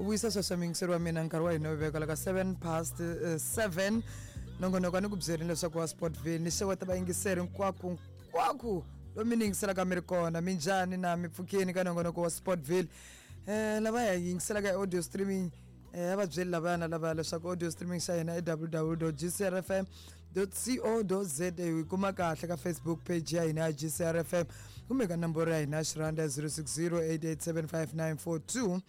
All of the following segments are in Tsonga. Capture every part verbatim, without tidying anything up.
Vuyisa sweswo muyingiseri wa mina, nkarhi wa hina wu veka ka seven past uh, seven. Nongonoko a ni ku byerini leswaku wa Sportville ni xeweta vayingiseri hinkwako hinkwako lomu ni yingiselaka mi ri kona. Minjhani na mi pfukeni ka nongonoko wa Sportville? Eh lava ya yingiselaka audio streaming, eh a va byeli lavaya na lavaya leswaku audio streaming xa hina i w w w dot g c r f m dot co dot za. Hi kuma kahle ka Facebook page ya hina ya G C R F M kumbe ka nomboro ya hina ya xiranda ya zero six zero eight eight seven five nine four two.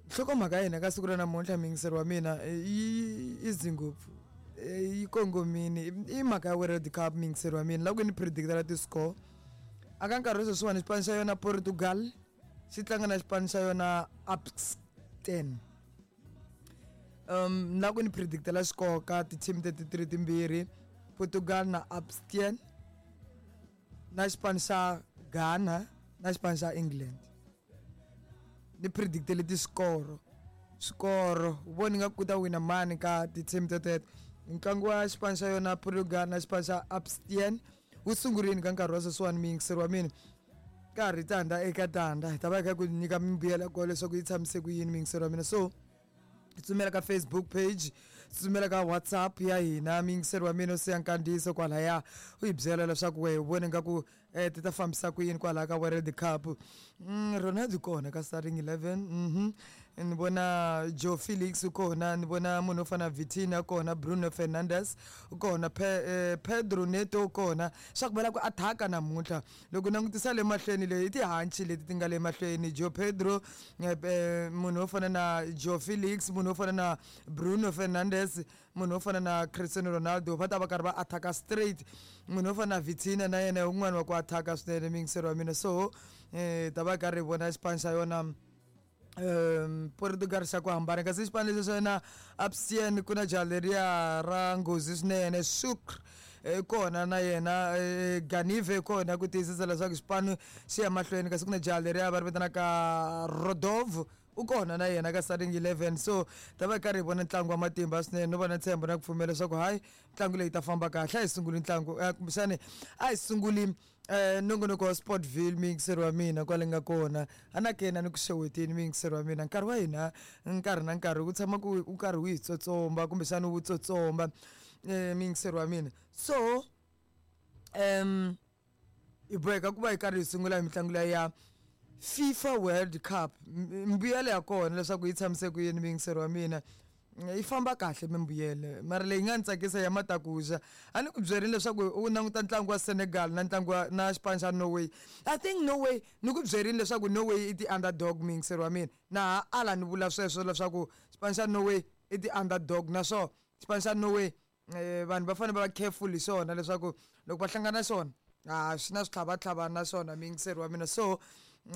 Nhlokomhaka ya hina ka siku ra namuntlha, muyingiseri wa mina, yi easy ngopfu, yi kongomini. I mhaka ya World Cup, muyingiseri wa mina. Loko ni predictela ti-score aka nkarhi wa sweswiwani, xipano xa yona Portugal xi tlanga na xipano xa yona Upsten. um na ku ni predictela score ka ti-team teti ti ri timbirhi, Portugal na Upsten, na xipano xa Ghana na xipano xa England, ni predictele ti-score swikoro voni nga ku ta wina mani ka ti-team teteto. Ntlangu wa xipano xa yona Portugal na xipano xa Upsten wu sungurini ka nkarhi wa sweswiwani, muyingiseri wa mina. Ka ha ri tandza eka tandza, hi ta va hi kha ku nyika mimbuyelo ya kona leswaku yi tshamise ku yini, muyingiseri wa mina. So tsutsumela ka Facebook page, tsutsumela ka WhatsApp ya hina, muyingiseri wa mina, u siya nkandziyiso kwalaya u hi byela leswaku wehe u vone nga ku eh, ti ta fambisa ku yini kwalaya ka World Cup. mm, ronaldo kona ka starting eleven. mhm ni vona Joe Felix u kona, ni vona munhu wo fana na Vitinha kona, Bruno Fernandes u kona, Pe, eh, Pedro Neto u kona. Swa ku va ku attack namuntlha loko langutisa le mahlweni leyi i tihanci leti ti nga le mahlweni: Joe Pedro, eh, eh, munhu wo fana na Joe Felix, munhu wo fana na Bruno Fernandes, munhu wo fana na Cristiano Ronaldo. Va ta va karhi va attacka straight. Munhu wo fana na Vitinha na yena un'wana wa ku attacka swinene, muyingiseri wa mina. So eh ta va karhi hi vona xipano xa yona um Portugal xa ku hambana, kasi xipano lexi xa yona Upstien ku na jaha leriya ra nghozi swinene, Sukr kona na yena, eh, Ganive kona ku tiyisisa leswaku xipano xi ya mahlweni, kasi ku na jaha leriya va ri vitanaka Rodov u kona na yena ka starting eleven. So ta va karhi hi vona ntlangu wa matimba swinene, no va na ntshembo na ku pfumela leswaku hayi, ntlangu leyi ta famba kahle. A hi sunguli ntlangu, eh, kumbexani a hi sunguli eh nongonoko wa Sportville, muyingiseri wa mina. Kwale nga kona a na kena ni ku xeweteni, muyingiseri wa mina. Nkarhi wa hina nkarhi na nkarhi ku tshama ku u karhi wu hi tsotsomba kumbexani wu tsotsomba, eh muyingiseri wa mina. So um hi boheka ku va hi karhi hi sungula hi mitlangu leya ya FIFA World Cup. Mbuyelo ya kona leswaku yi tshamise ku yini, muyingiseri wa mina, yi famba kahle mimbuyelo, mara leyi nga ni tsakisa ya matakuxa a ni ku byerini leswaku u languta ntlangu wa Senegal na ntlangu wa na xipano xa Norway. I think Norway, ni ku byerini leswaku Norway i ti-underdog, muyingiseri wa mina. Na ha ala ni vula sweswo leswaku xipano xa Norway i ti-underdog, naswona xipano xa Norway, eh, vanhu va fanele va va careful hi xona leswaku loko va hlangana xona a swi na switlhavatlhava na swona, muyingiseri wa mina. So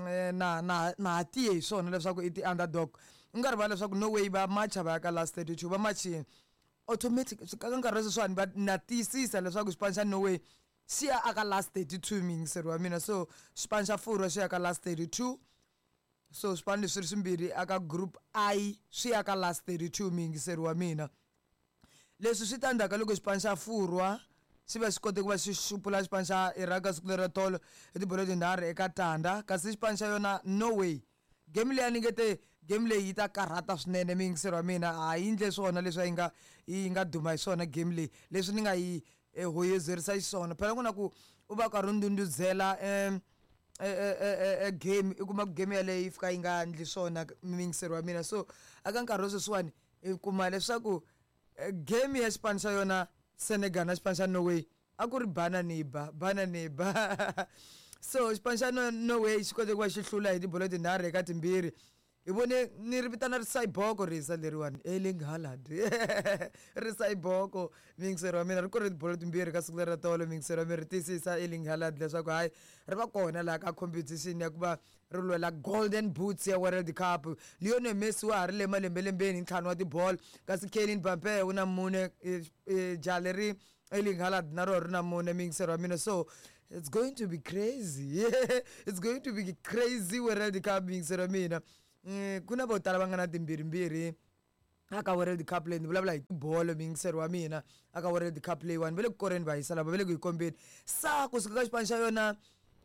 eh, na na na ha tiye hi swona leswaku i ti-underdog. U nga rivali leswaku Norway va macha va ya ka last thirty-two, va machini automatic ka nkarhi wa sweswiwani. Va na tiyisisa leswaku xipano xa Norway xi ya aka last thirty-two, muyingiseri wa mina. So xipano xa Furwa xi ya ka last thirty-two. So swipano leswi ri swimbirhi aka group I swi ya ka last thirty-two, muyingiseri wa mina. Leswi swi ta ndzhaku ka loko xipano xa Furwa xi va xi kote ku va xi xupula xipano xa Iraq siku lera tolo hi tibolo tinharhu eka tandza. Kasi xipano xa yona Norway, game leyi a ni nge te game leyi yi ta karhata swinene, muyingiseri wa mina, a yi ndle swona leswi yi nga yi nga duma hi swona game leyi, leswi ni nga yi eh, hoyozerisa xiswona. Phela ku na ku u va karhi u ndundzela um e game, i kuma ku game yaleyo yi fika yi nga ndli swona, muyingiseri wa mina. So aka nkarhi wa sweswiwani hi kuma leswaku eh, game ya xipano xa yona Senegal na xipano xa Norway a ku ri bana ni ba, bana ni ba. So xipano xa Norway xi kote ku va xi hlula hi tibolo tinharhu eka timbirhi. Hi vone ni ri vitana risayiboko risa leriwani, Erling Haaland, risayiboko, muyingiseri wa mina. Ri kore tibolo timbirhi ka siku leri ra tolo, muyingiseri wa mina. Ri tiyisisa Erling Haaland leswaku hayi, ri va kona laha ka competition ya ku va ri lwela Golden Boots ya World Cup. Lionel Messi wa ha ri le malembelembeni hi ntlhanu wa tibolo, kasi Kylian Mbappe u na mune. eh, eh, jaha leri Erling Haaland na rona ri na mune, muyingiseri wa mina. So it's going to be crazy, it's going to be crazy World Cup, muyingiseri wa mina. Mm, ku na vo tala va nga na timbirhimbirhi aka World Cup leyi. Ni vulavula hi tibolo, muyingiseri wa mina. Aka World Cup leyiwani va le ku koreni, va hisa lava va le ku hi kombeni sa kusuka ka xipano xa yona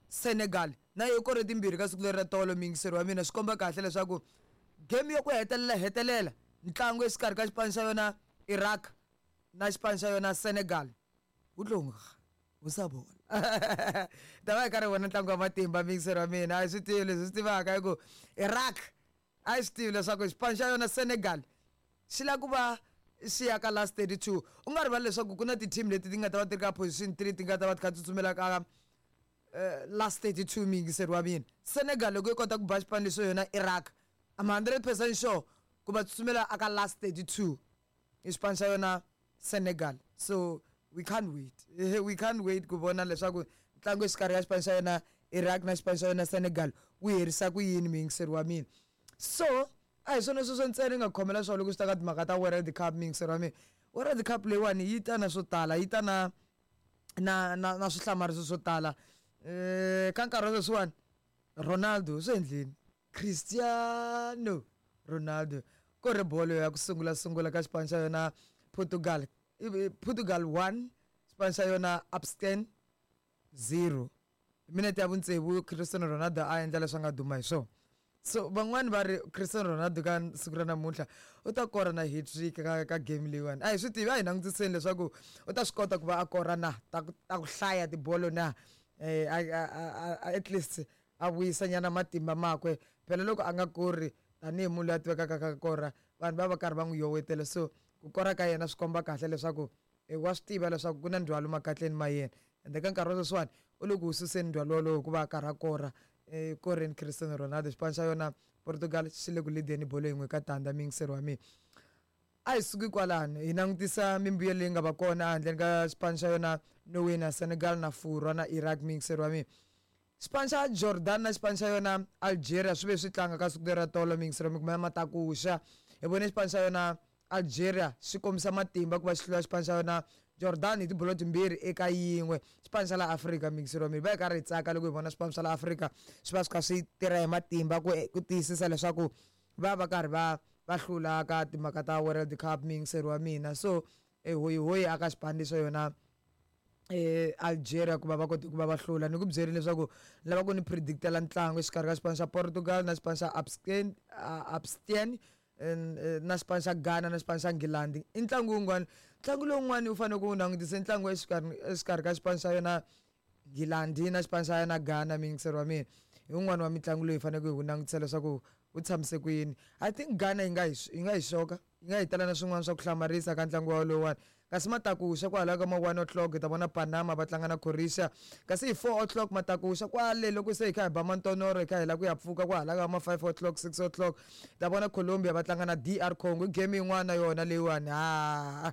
Senegal na yi kore timbirhi ka siku leri ra tolo, muyingiseri wa mina. Swi komba kahle leswaku Game yo ku hetelela hetelela ntlangu exikarhi ka xipano xa yona Iraq na xipano xa yona Senegal wu tlonga wu sa bola ta va hi karhi vona ntlangu wa matimba mixer wa mina a hi swi tivi leswi swi tivaka hi ku Iraq a hi swi tivi leswaku xipano xa yona Senegal xi lava ku va xi ya ka last thirty two u nga rivali leswaku ku na ti-team leti ti nga ta va ti ri ka position three ti nga ta va ti kha tsutsumela ka last thirty two miyingiseri wa mina Senegal loko yi kota ku ba xipano lexo yona Iraq I'm hundred percent sure ku va tsutsumela aka last thirty two i xipano xa yona Senegal so we can't wait we can't wait ku vona leswaku ntlangu exikarhi ka xipano xa yona Iraq na xipano xa yona Senegal wu herisa ku yini miyingiseri wa mina so a hi swona sweswo ntsena yi nga khomela swona loko swi ta ka timhaka ta World Cup miyingiseri wa mina World Cup leyiwani yi ta na swo tala yi ta na na na na swihlamariso swo tala um ka nkarhi wa sweswiwani Ronaldo swi endleni Cristiano Ronaldo ko ri bolo ya ku sungula sungula ka xipano xa yona Portugal Portugal one xipano xa yona Abstain zero minete ya vutsevu Cristiano Ronaldo a endla leswi a nga duma hi swona so van'wani va ri Cristiano Ronaldo ka siku ra namuntlha u ta kora na hat-trick ka ka game leyiwani a hi swi tivi a hi langutiseni leswaku u ta swi kota ku va a kora na ta ku ta ku hlaya tibolo na eh at least a vuyisa nyana matimba makwe phela loko a nga kori tanihi munhu loyi a tivekaka ka kora vanhu va va karhi va n'wi yowetela so ku kora ka yena swi komba kahle leswaku wa swi tiva leswaku ku na ndzhwalo makatleni ma yena ende ka nkarhi wa sweswiwani u le ku wu suseni ndzhwalo wolowo hikuva a karhi a kora koreni Cristiano Ronaldo xipano xa yona Portugal xi le ku lideni bolo yin'we ka tandza miyingiseri wa mina a hi suki kwalano hi langutisa mimbuyelo leyi nga va kona handleni ka xipano xa yona Norway na Senegal na Furwa na Iraq miyingiseri wa mina xipano xa Jordan na xipano xa yona Algeria swi ve swi tlanga ka siku leri ra tolo miyingiseri wa mina kumbe matakuxa hi vone xipano xa yona Algeria xi kombisa matimba ku va xi hlula xipano xa yona Jordan hi tibolo timbirhi eka yin'we xipano xa la Afrika miyingiseri wa mina va hi karhi hi tsaka loko hi vona swipano swa la Afrika swi va swi kha swi tirha hi matimba ku ku tiyisisa leswaku va va karhi va va hlula ka timhaka ta World Cup miyingiseri wa mina so hoyihoyi aka xipano lexi yona eh Algeria ku va va kote ku va va hlula ni ku byerile leswaku lava ku ni predictela ntlangu exikarhi ka xipano xa Portugal na xipano xa Abstain Abstain na xipano xa Ghana na xipano xa England i ntlangu wun'wana ntlangu lowun'wani u fanele ku wu langutisa ntlangu exikarhi exikarhi ka xipano xa yona England na xipano xa yona Ghana miyingiseri wa mina hi wun'wani wa mitlangu leyi hi faneleke hi wu langutisa leswaku wu tshamise ku yini I think Ghana yi nga hi yi nga hi xoka yi nga hi tala na swin'wana swa ku hlamarisa ka ntlangu wa lowuwani kasi matakuxa kwalaho ka ma one o'clock hi ta vona Panama va tlanga na Croatia kasi hi four o'clock matakuxa kwale loko se hi kha hi ba mantonoro hi kha hi lava ku ya pfuka kwahala ka ma five o'clock six o'clock hi ta vona Colombia va tlanga na D R Congo game yin'wana yona leyiwani ha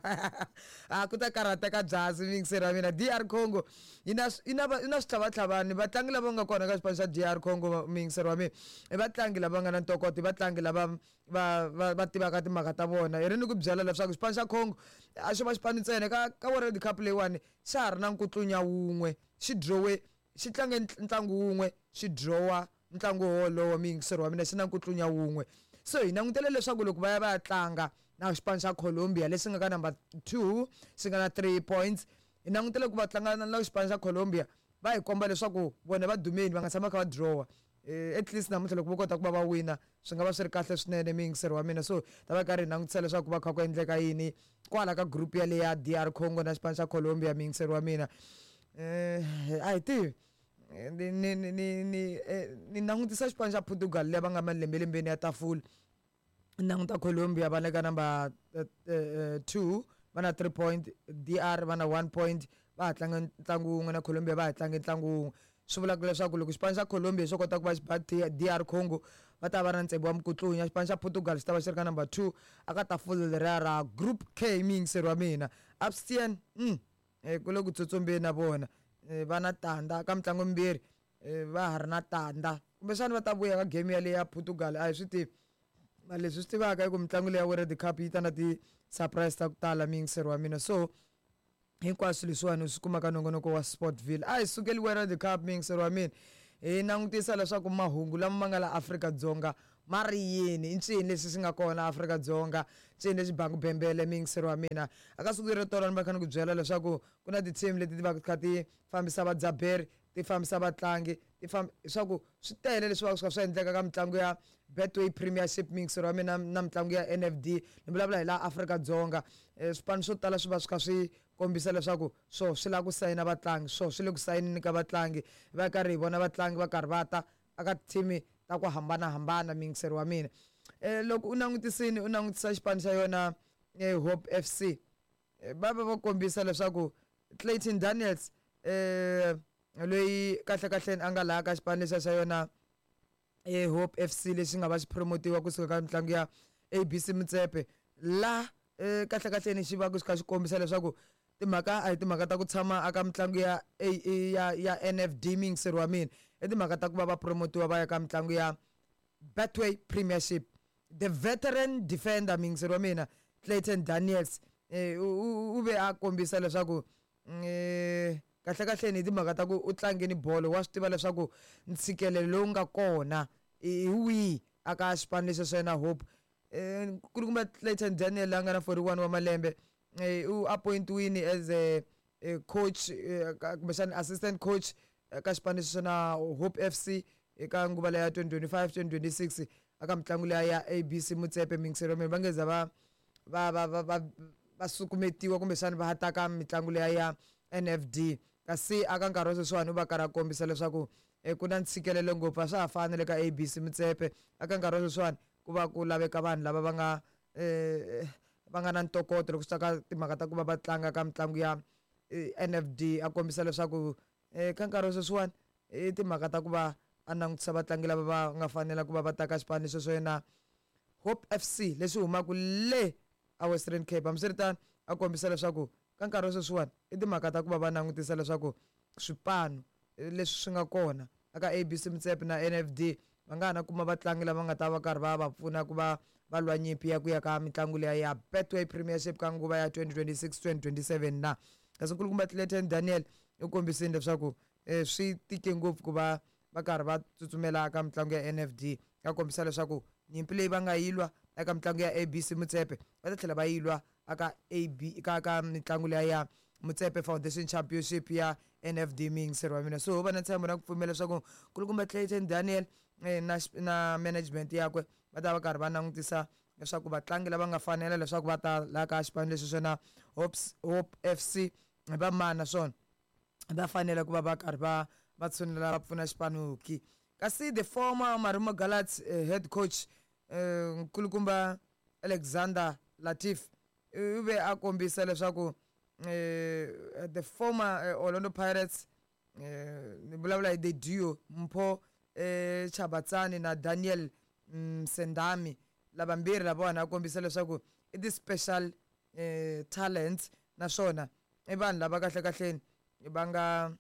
a ku ta karhateka byasi miyingiseri wa mina D R Congo yi na yi na yi na switlhavatlhavani vatlangi lava nga kona ka xipano xa D R Congo miyingiseri wa mina i vatlangi lava nga na ntokoto i vatlangi lava va va va tivaka timhaka ta vona hi ri ni ku byela leswaku xipano xa Congo a xo va xipano ntsena ka ka World Cup leyiwani xa ha ri na nkutlunya wun'we xi drawe xi tlange ntlangu wun'we xi drawa ntlangu wolowo miyingiseri wa mina xi na nkutlunya wun'we so hi langutele leswaku loko va ya va ya tlanga na xipano xa Colombia lexi nga ka number two xi nga na three points hi langutele ku va tlanga na xipano xa Colombia va hi komba leswaku vona va dumeni va nga tshama kha va drawa at least namuntlha loko vo kota ku va va wina swi nga va swi ri kahle swinene miyingiseri wa mina so ta va karhi hi langutisa leswaku va kha ku endleka yini kwala ka group yaleyo ya D R Congo na xipano xa Colombia miyingiseri wa mina um a hi tivi ni ni ni ni ni langutisa xipano xa Portugal leyi va nga malembelembeni ya tafula ni languta Colombia va le ka number two va na three point D R va na one point va ha tlanga ntlangu wun'we na Colombia va ha tlange ntlangu wun'we swi vulaka leswaku loko xipano xa Colombia xo kota ku va xi ba D R Congo va ta va na ntsengo wa mukutlunya xipano xa Portugal xi ta va xi ri ka number two aka tafula leriya ra group K miyingiseri wa mina Abstain mm ku le ku tsutsumbeni na vona va na tandza ka mitlangu mimbirhi va ha ri na tandza kumbexana va ta vuya ka game yaleyo ya Portugal a hi swi tivi mara leswi swi tivaka i ku mitlangu leyi ya World Cup yi ta na ti-surprise ta ku tala miyingiseri wa mina so hinkwaswo leswiwani swi kumaka nongonoko wa Sportville a hi sukeli World Cup miyingiseri wa mina hi langutisa leswaku mahungu lama ma nga la Afrika-Dzonga ma ri yini i ncini lexi xi nga kona Afrika-Dzonga ncini lexi bangu bembele miyingiseri wa mina aka siku leri tolo ni va kha ni ku byela leswaku ku na ti-team leti ti va kha ti fambisa vadzaberi ti fambisa vatlangi ti famba swa ku swi tele leswi va swi kha swi endleka ka mitlangu ya Betway Premiership, mixer wa mina, na mitlangu ya N F D. Ni vulavula hi laha Afrika-Dzonga. um swipano swo tala swi va swi kha swi kombisa leswaku swo swi lava ku sayina vatlangi, swo swi le ku sayinini ka vatlangi, va karhi hi vona vatlangi va karhi va ta aka team ta ku hambanahambana, mixer wa mina. um loko u langutisini, u langutisa xipano xa yona Hope F C, va va va kombisa leswaku Clayton Daniels, eh loyi kahle kahleni a nga laha ka xipano lexiya xa yona e Hope F C, lexi nga va xi promotiwa kusuka ka mitlangu ya A B C Motsepe, la eh kahle kahleni xi va ku xi kha xi kombisa leswaku timhaka a hi timhaka ta ku tshama aka mitlangu ya A ya ya N F D, mixer wa mina, i timhaka ta ku va va promotiwa va ya ka mitlangu ya Betway Premiership. The veteran defender, mixer wa mina, Clayton Daniels, eh u ve a kombisa leswaku eh kahle kahleni hi timhaka ta ku u tlangeni bolo, wa swi tiva leswaku ntshikelelo lowu nga kona hi wihi aka xipano lexi xa yena Hope. um kulukumba Clayton Daniel la nga na forty-one wa malembe, eh u appointiwini as a, a coach, kumbexana assistant coach ka xipano lexi na Hope F C eka nguva leya twenty twenty-five twenty twenty-six aka mitlangu leya ya A B C Motsepe, mixer wa mina. Va nge za va va va va va va sukumetiwa kumbexana va ta ka mitlangu leya ya N F D. Kasi aka nkarhi wa sweswiwani u va karhi a kombisa leswaku ku na ntshikelelo ngopfu, a swa ha fani le ka A B C Motsepe. Aka nkarhi wa sweswiwani ku va ku laveka vanhu lava va nga um va nga na ntokoto loko swi ta ka timhaka ta ku va va tlanga ka mitlangu ya N F D. A kombisa leswaku um ka nkarhi wa sweswiwani i timhaka ta ku va a langutisa vatlangi lava va nga fanela ku va va ta ka xipano lexi swo yena Hope F C lexi humaka le a Western Cape. Hambiswiritano, a kombisa leswaku ka nkarhi wa sweswiwani i timhaka ta ku va va langutisa leswaku swipano leswi swi nga kona aka A B C Motsepe na N F D va nga ha na kuma vatlangi lava nga ta va karhi va va pfuna ku va va lwa nyimpi ya ku ya ka mitlangu leya ya Betway Premiership ka nguva ya twenty twenty-six twenty twenty-seven na. Kasi nkulukumba Clayton Daniel u kombisile leswaku um swi tike ngopfu ku va va karhi va tsutsumela ka mitlangu ya N F D. A kombisa leswaku nyimpi leyi va nga yi lwa eka mitlangu ya A B C Motsepe, va ta tlhela va yi lwa aka A B ka ka mitlangu leya ya Motsepe Foundation Championship ya N F D, mixer wa mina. So va na ntshembo na ku pfumela leswaku nkulukumba Clayton Daniel eh, na na management yakwe va ta va karhi va langutisa leswaku vatlangi lava nga fanela leswaku va ta laha ka xipano lexi swona Hopes Hope F C va mani, naswona va fanele ku va va karhi va va tshunela va pfuna xipano ki. Kasi the former Marumo Gallants eh, head coach, eh, nkulukumba Alexander Latif, u ve a kombisa leswaku eh, the former eh, Orlando Pirates, eh, ni vulavula hi the duo Mpho eh, Chabatsani na Daniel Msendami, lavambirhi lavawani, a kombisa leswaku i ti-special eh, talents, naswona i vanhu lava kahle kahleni va nga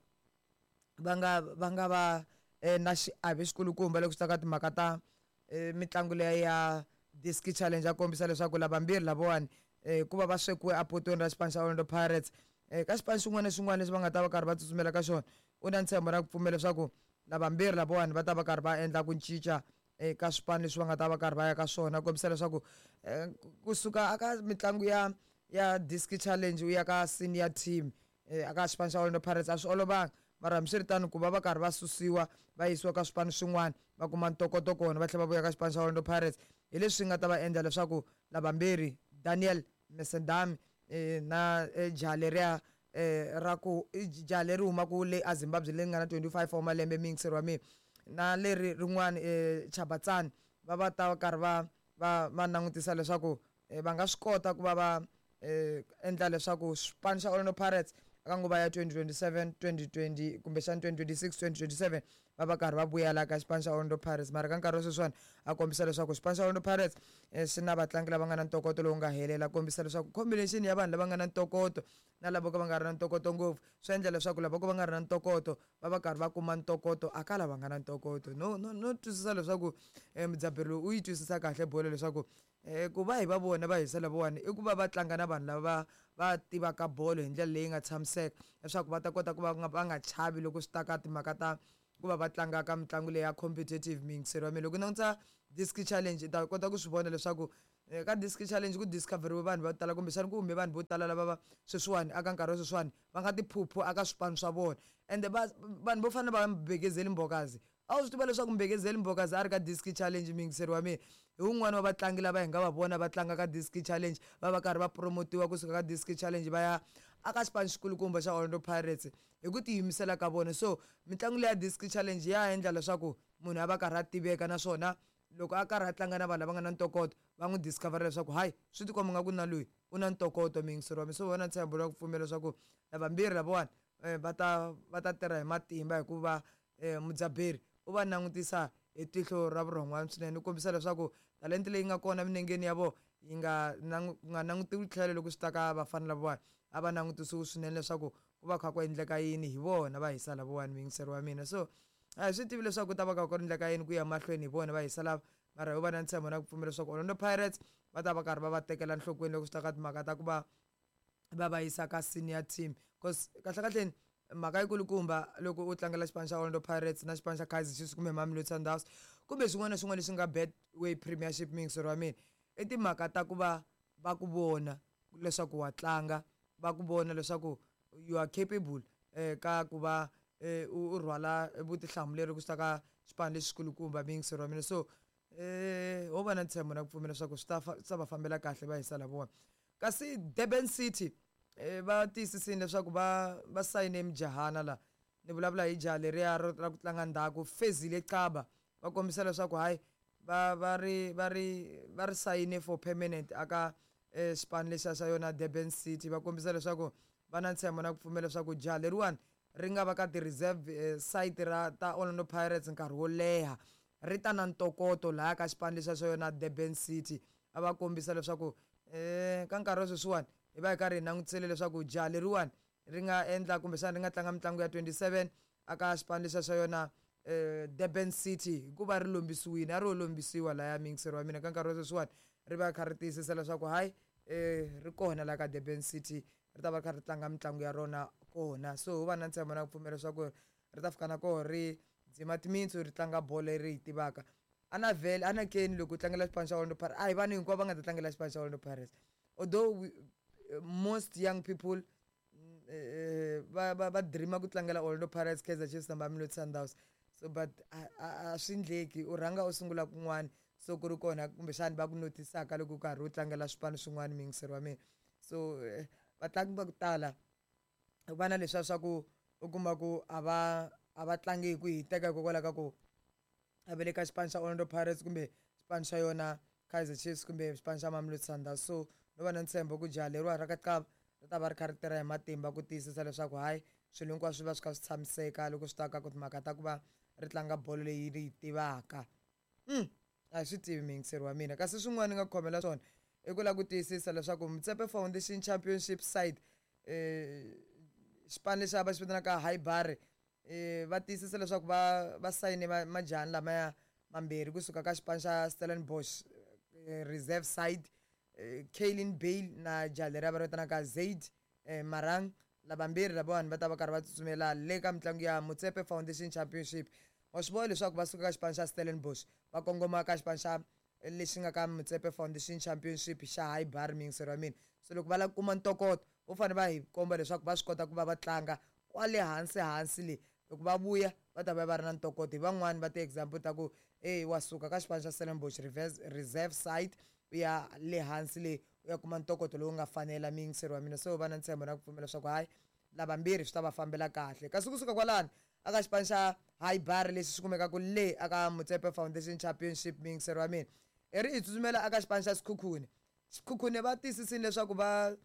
va nga va nga va eh, na xiave xikulukumba loko swi ta ka timhaka ta eh, mitlangu leya ya Diski Challenge. A kombisa leswaku lavambirhi lavawani, eh, ku va va swekiwe apotweni ra xipano xa Orlando Pirates, eh, ka xipano xin'wana na xin'wana lexi va nga ta va karhi va tsutsumela ka xona, u na ntshembo na ku pfumela leswaku lavambirhi lavawani va ta va karhi va endla ku cinca eka swipano leswi va nga ta va karhi va ya ka swona. Kombisa leswaku eh, kusuka aka mitlangu ya ya Diski Challenge u ya ka senior team eh, aka xipano xa Orlando Pirates a swi olovanga, mara hambiswiritano ku va va karhi va susiwa va yisiwa ka swipano swin'wana va kuma ntokoto kona, va tlhela va vuya ka xipano xa Orlando Pirates, hi leswi nga ta va endla leswaku lavambirhi Daniel Mesendami eh, na eh, jaha leriya eh, ra ku jaha leri humaka le aZimbabwe leri nga na twenty-five wa malembe, mixer wa mina, na leri rin'wana eh, Chabatsani, va va ta karhi va va va langutisa leswaku eh, va nga swi kota ku va va eh, endla leswaku xipano xa Orlando Pirates aka nguva ya twenty twenty-seven twenty twenty kumbexana twenty twenty-six twenty twenty-seven va va karhi va vuyela ka xipano xa Orlando Pirates. Mara ka nkarhi wa sweswiwani a kombisa leswaku xipano xa Orlando Pirates eh, xi na vatlangi lava nga na ntokoto lowu nga helela. Kombisa leswaku combination ya vanhu lava nga na ntokoto na lava ka va nga ri na ntokoto ngopfu swi endla leswaku lava ko va nga ri na ntokoto va va karhi va kuma ntokoto aka lava nga na ntokoto. No no no twisisa leswaku eh, mudzaberi lowu u yi twisisa kahle bolo, leswaku eh, ku va hi va vona va hisa lavawani i ku va va tlanga na vanhu lava va tivaka bolo hi ndlela leyi nga tshamiseka, leswaku va ta kota ku va va nga chavi loko swi ta ka timhaka ta ku va va tlanga ka mitlangu leyi ya competitive. Miyingiseri wa mina, loko u langutisa Diski Challenge, i ta kota ku swi vona leswaku Ka Diski Challenge ku discoveriwe vanhu vo tala, kumbexana ku hume vanhu vo tala lava va sweswiwani aka nkarhi wa sweswiwani va nga tiphuphu aka swipano swa vona. Ende va vanhu vo fana na va Mbekezeli Mbokazi, a wu swi tiva leswaku Mbekezeli Mbokazi a ri ka Diski Challenge, muyingiseri wa mina, hi wun'wani wa vatlangi lava hi nga va vona va tlanga ka Diski Challenge, va va karhi va promotiwa kusuka ka Diski Challenge va ya aka xipano xikulukumba xa Orlando Pirates hi ku tiyimisela ka vona. So mitlangu leya Diski Challenge ya endla leswaku munhu a va karhi a tiveka, naswona loko a karhi a tlanga na vanhu lava nga na ntokoto va n'wi discover leswaku hayi, swi tikomba nga ku na loyi u na ntokoto, muyingiseri wa mina. So vona ntshembo la ku pfumela leswaku lavambirhi lavawani va ta va ta tirha hi matimba, hikuva mudzaberi u va langutisa hi tihlo ra vurhon'wana swinene, u kombisa leswaku talenta leyi nga kona minengeni ya vona yi nga nga langutiwi tlhelo loko swi ta ka vafana lavawani, a va langutisiwi swinene leswaku ku va kha ku endleka yini hi vona va hisa lavawani, muyingiseri wa mina. So a hi swi tivi leswaku ku ta va kha ku endleka yini ku ya mahlweni hi vona va hisa lava, mara ho va na ntshembo na ku pfumela leswaku Orlando Pirates va ta va karhi va va tekela nhlokweni loko swi ta ka timhaka ta ku va va va yisa ka senior team, cause kahle kahleni mhaka yikulukumba loko u tlangela xipano xa Orlando Pirates na xipano xa Kaizer Chiefs kumbe Mamelodi Sundowns kumbe xin'wana na xin'wana lexi nga Betway Premiership, muyingiseri wa mina, i timhaka ta ku va va ku vona leswaku wa tlanga, va ku vona leswaku you are capable eh ka ku va u rhwala vutihlamuleri ku swi ta ka xipano lexikulukumba, muyingiseri wa mina. So eh ho va na ntshembo na ku pfumela leswaku swi ta swi ta va fambela kahle va hisa lavona. Kasi Durban City va tiyisisile leswaku va va sayine mujahana la, ni vulavula hi jaha leriya ra ku tlanga ndzhaku Fezile Xaba, va kombisa leswaku hayi va va ri va ri va ri sayine for permanent aka xipano lexiya xa yona Durban City. Va kombisa leswaku va na ntshembo na ku pfumela leswaku jaha leriwani ri nga va ka ti-reserve site ra ta Orlando Pirates nkarhi wo leha, ri ta na ntokoto lahaya ka xipano lexiya xa yona Durban City. A va kombisa leswaku eh ka nkarhi wa sweswiwani hi va hi karhi hi langutisele leswaku jaha leriwani ri nga endla kumbexana ri nga tlanga mitlangu ya twenty-seven aka xipano lexiya xa yona eh Durban City, hikuva ri lombisiwile, a ro lombisiwa lahaya, muyingiseri wa mina. Ka nkarhi wa sweswiwani ri va kha ri tiyisisa leswaku hayi eh ri kona laha ka Durban City, ri ta va kha ri tlanga mitlangu ya rona kona. So ho va na ntshembo na ku pfumela leswaku ri ta fika na koho ri dzima timintsu ri tlanga bolo leri yi tivaka. A na vhele a na keni loko u tlangela xipano xa Orlando Pirates, a hi vanhu hinkwavo va nga ta tlangela xipano xa Orlando Pirates, although we, most young people va va va dreama ku tlangela Orlando Pirates, Kaizer Chiefs na Mamelodi Sundowns. So but a swi endleki, u rhanga u sungula kun'wana, so ku ri kona kumbexana va ku notisaka loko u karhi u tlangela swipano swin'wana, muyingiseri wa mina. So vatlangi va ku tala va na leswiya swa ku u kuma ku a va a va tlangi hi ku hiteka hikokwalaho ka ku a va le ka xipano xa Orlando Pirates kumbe xipano xa yona Kaizer Chiefs kumbe xipano xa Mamelodi Sundowns. So no va na ntshembo ku jaha leriwa ra ka Xaba ri ta va ri kha ri tirha hi matimba ku tiyisisa leswaku hayi swilo hinkwaswo swi va swi kha swi tshamiseka loko swi ta ka ku timhaka ta ku va ri tlanga bolo leyi ri yi tivaka. Mm a hi swi tivi, muyingiseri wa mina. Kasi swin'wana ni nga khomela swona i ku lava ku tiyisisa leswaku Motsepe Foundation Championship side eh xipano lexi va xi vitanaka Highbury eh va tiyisisa leswaku va va sayine majahani lamaya mambirhi kusuka ka xipano xa Stellenbosch reserve side, Kaylin Bale na jaha leriya va ri vitanaka Zaid Marang. Lavambirhi lavawani va ta va karhi va tsutsumela le ka mitlangu ya Motsepe Foundation Championship. Wa swi vona leswaku va suka ka xipano xa Stellenbosch va kongoma ka xipano xa lexi nga ka Motsepe Foundation Championship xa Highbury, muyingiseri wa mina. So loko va lava ku kuma ntokoto vo fanele va hi komba leswaku va swi kota ku va va tlanga kwale hansi hansi le, loko va vuya va ta va va ri na ntokoto. Hi van'wani va ti-example ta ku e wa suka ka xipano xa Stellenbosch reserve side u ya le hansi le u ya kuma ntokoto lowu nga fanela, muyingiseri wa mina. So va na ntshembo na ku pfumela leswaku hayi lavambirhi swi ta va fambela kahle. Kasi kusuka kwalano aka xipano xa Highbury lexi xi kumekaka le aka Motsepe Foundation Championship, muyingiseri wa mina, i ri hi tsutsumela aka xipano xa Sekhukhune. Sekhukhune va tiyisisile leswaku va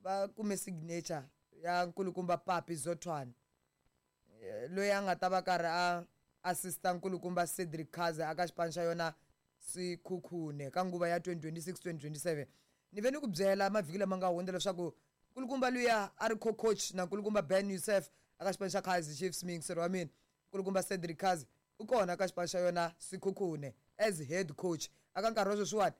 va kume signature ya nkulukumba Papi Zothwane, loyi a nga ta va karhi a assista nkulukumba Cedric Kaze aka xipano xa yona Sekhukhune ka nguva ya twenty twenty-six twenty twenty-seven. Ni ve ni ku byela mavhiki lama nga hundza leswaku nkulukumba luya a ri co-coach na nkulukumba Ben Youssef aka xipano xa Kaizer Chiefs, muyingiseri wa mina, nkulukumba Cedric Kaze u kona ka xipano xa yona Sekhukhune as head coach. Aka nkarhi wa sweswiwani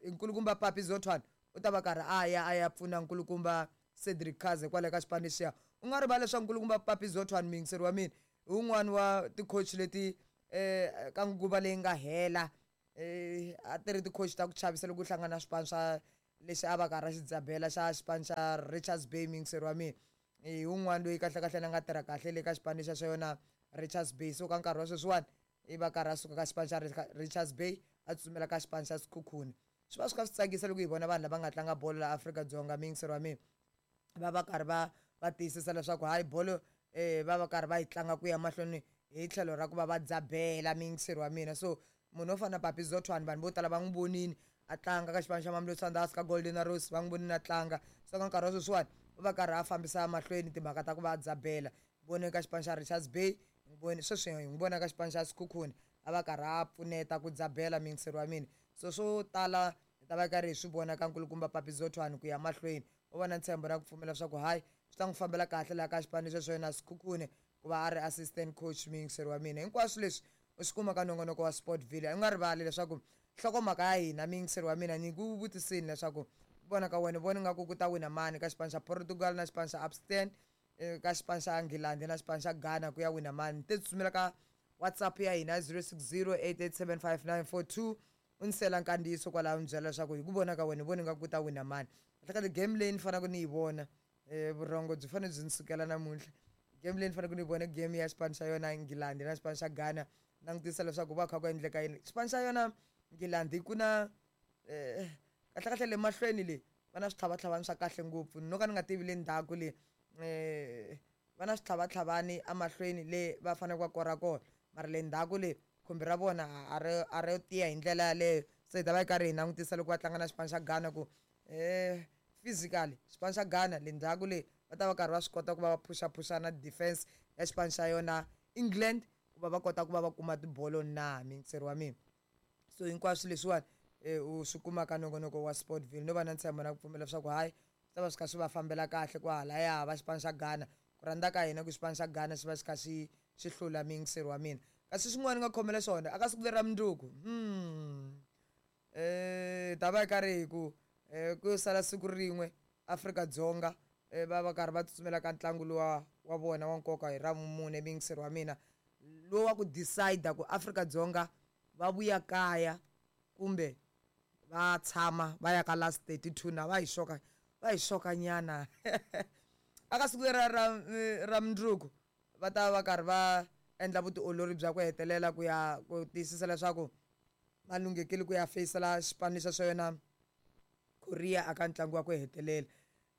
nkulukumba Papi Zothwane u ta va karhi a ya a ya pfuna nkulukumba Cedric Kaze kwale ka xipano lexiya. U nga rivali leswaku nkulukumba Papi Zothwane, muyingiseri wa mina, hi wun'wani wa ti-coach leti eh ka nguva leyi nga hela eh A ti ri ti-coach ta ku chavisa loko u hlangana na swipano swa lexi a va karhi a xi dzabela xa xipano xa Richards Bay muyingiseri wa mina hi wun'wana loyi kahlekahle na nga tirha kahle le ka xipano lexa xa yona Richards Bay. So ka nkarhi wa sweswiwani i va karhi a suka ka xipano xa Richards Bay a tsutsumela ka xipano xa Sekhukhune. Swi va swi kha swi tsakisa loko hi vona vanhu lava nga tlanga bolo la Afrika-Dzonga muyingiseri wa mina va va karhi va va tiyisisa leswaku hayi bolo um va va karhi va yi tlanga ku ya mahlweni hi tlhelo ra ku va va dzabela muyingiseri wa mina. So munhu wo fana na Papi Zothwane vanhu vo tala va n'wi vonini a tlanga ka xipano xa Mamelodi Sundowns ka Golden Arrows va n'wi vonini a tlanga. So ka nkarhi wa sweswiwani u va karhi a fambisa mahlweni timhaka ta ku va a dzabela. Vone ka xipano xa Richards Bay, vone sweswi hi n'wi vona ka xipano xa Sekhukhune a va karhi a pfuneta ku dzabela muyingiseri wa mina. So swo tala hi ta va karhi hi swi vona ka nkulukumba Papi Zothwane ku ya mahlweni. U va na ntshembo na ku pfumela leswaku hayi swi ta n'wi fambela kahle laha ka xipano lexi xa yena Sekhukhune ku va a ri assistant coach muyingiseri wa mina. Hinkwaswo leswi u swi kuma ka nongonoko wa Sportville. U nga rivali leswaku nhlokomhaka ya hina muyingiseri wa mina ni ku vutisini leswaku vona ka wena vona nga ku ku ta wina mani ka xipano xa Portugal na xipano xa Abstain ka xipano xa England na xipano xa Ghana ku ya wina mani. Te tsutsumela ka WhatsApp ya hina zero six zero eight eight seven five nine four two u ni sela nkandziyiso kwalaho u ni byela leswaku hi ku vona ka wena vona nga ku ta wina mani. Kahlekahle game leyi ni faneleke ni yi vona um vurhongo byi fanele byi ni sukela namuntlha. Game leyi ni faneleke ni yi vona game ya xipano xa yona England na xipano xa Ghana. Langutisa leswaku va kha ku endleka yini. Xipano xa yona England ku na um kahlekahle le mahlweni le va na switlhavatlhavani swa kahle ngopfu no ka ni nga tivi le ndzhaku le um va na switlhavatlhavani emahlweni le va faneleke va kora kona mara le ndzhaku le khumbi ra vona a ri a ri tiya hi ndlela yaleyo. Se hi ta va hi karhi hi langutisa loko va tlanga na xipano xa Ghana ku um physically xipano xa Ghana le ndzhaku le va ta va karhi va swi kota ku va va phushaphusha defense ya xipano xa yona England ku va va kota ku va va kuma tibolo na muyingiseri wa mina. So hinkwaswo leswiwani u swi kuma ka nongonoko wa Sportville. No va na ntshembo na ku pfumela leswaku hayi swi ta va swi kha swi va fambela kahle kwahalaya va xipano xa Ghana. Ku rhandza ka hina ku xipano xa Ghana xi va xi kha xi xi hlula muyingiseri wa mina. Kasi xin'wana ni nga khomela xona aka siku leri ra mundzuku um ta va hi karhi hi ku ku sala siku rin'we Afrika-Dzonga va va karhi va tsutsumela ka ntlangu luwa wa vona wa nkoka hi ra vumune muyingiseri wa mina lowu wa ku decide ku Afrika-Dzonga va vuya kaya kumbe va tshama va ya ka last thirty two na va hi xoka va hi xoka nyana. Aka siku leri ra ra mundzuku va ta va karhi va endla vutiolori bya ku hetelela ku ya ku tiyisisa leswaku va lunghekile ku ya feyisela xipano lexa xa yona Korea aka ntlangu wa ku hetelela.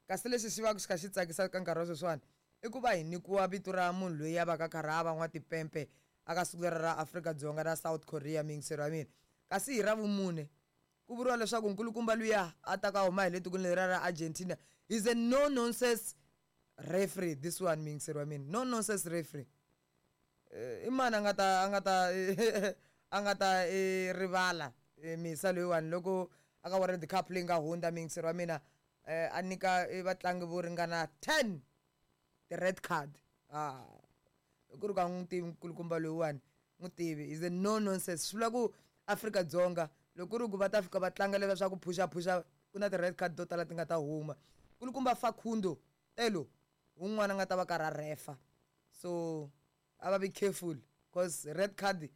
Kasi lexi xi va xi kha xi tsakisa ka nkarhi wa sweswiwani i ku va hi nyikiwa vito ra munhu loyi a va ka karhi a va n'watipempe aka siku leri ra Afrika-Dzonga na South Korea muyingiseri wa mina. Kasi hi ra vumune ku vuriwa leswaku nkulukumba luya a ta ka huma hi le tikweni leriya ra Argentina is a no nonsense referee this one muyingiseri wa mina. No nonsense referee. I mani a nga ta a nga ta a nga ta rivala misa loyiwani loko aka World Cup leyi nga hundza muyingiseri wa mina a nyika vatlangi vo ringana ten ti-red card. Ah ku ri ka n'wi tivi nkulukumba loyiwani n'wi tivi is a no nonsense. Swi vula ku Afrika-Dzonga loko ku ri ku va ta fika va tlanga leswiya swa ku phushaphusha ku na ti-red card to tala ti nga ta huma. Nkulukumba Facundo Telo wun'wana a nga ta va karhi a refa. So a va be careful cause red card